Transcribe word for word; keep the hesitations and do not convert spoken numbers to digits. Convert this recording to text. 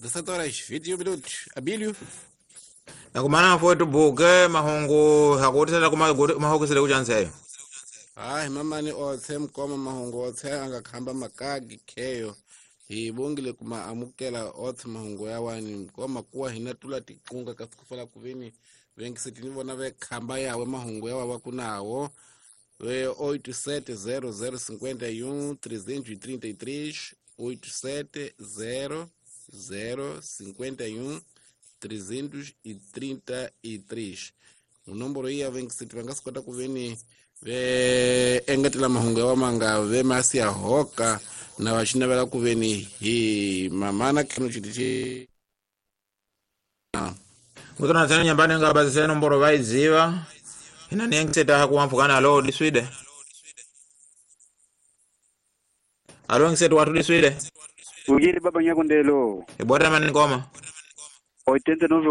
dezessete horas vinte e um minutos. Abílio. Nakumana fotu buke mahungu hakutisela kuma mahokisele kuchanseyo. Hayi mamani othe mkoma mahungu othe angakhamba makagi kheyo. Hi bongile kuma amukela othe mahungu ya wani mkoma kuwa hina tula tikunga kasikufala kuvini vengisetini vona vekhamba yawe mahungu yawa wakunawo. We oito sete zero zero cinquenta e um trezentos e trinta e três oito sete zero zero cinquenta e um trezentos e trinta e três. O número iya vengiseti vangasikota kuveni ve engetela mahungu yawa manga ve masi ya hoka na vachinavela kuveni hi mamana kano chiti. Mutona tsena nyambani ngabazise nomboro vaiziva. Ina niengiseta hakuwampukana alo diswide. Alo ngiseta watu diswide. Ujiri baba nyakundelo. Ibwata mani ngoma. oitenta e nove